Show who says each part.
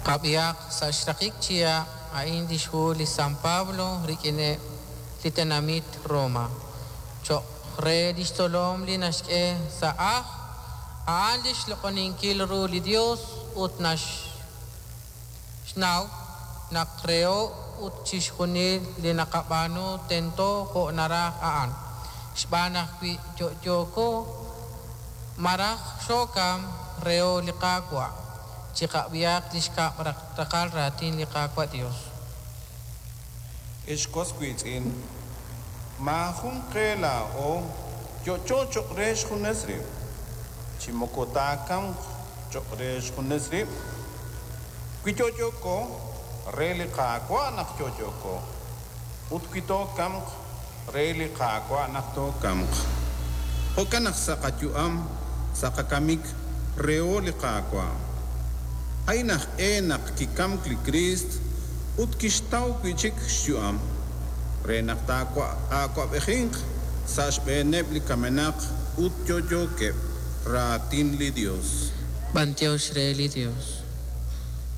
Speaker 1: Qab'ihaq sa' xraqik chihab' a'in lix hu li San Pablo rik'ineb' li tenamit Roma. Choq' re lix tzolom li naxk'e sa' ajl a'an lix loq'oninkil ru li Dios ut naxnaw naq reho ut chixjunil li naqab'aanu tento jo' naraj a'an. Xb'aan naq wi yo'yooko maraj xookam reho li Qaawa'. Chiqab'ihaq li xkab' raqal raatin li Qaawa' Dios.
Speaker 2: Ex was wiitz'in, maajun qe laa'o yo'yo cho'q re xjunes rib', chi moko taakamq cho'q re xjunes rib'. Wi yo'yooko, re li Qaawa' naq yo'yooko, ut wi tookamq, re li Qaawa' naq tookamq. Jo'kan naq sa' qayu'am, sa' qakamik, reho li Qaawa'. A'in aj e naq kikamk li Kriist ut kixtaw wi' chik xyu'am, re naq taa'awab'ejinq sa' xb'eeneb' li kamenaq ut yo'yookeb'. Raatin li Yos.
Speaker 1: B'antiox re li Dios.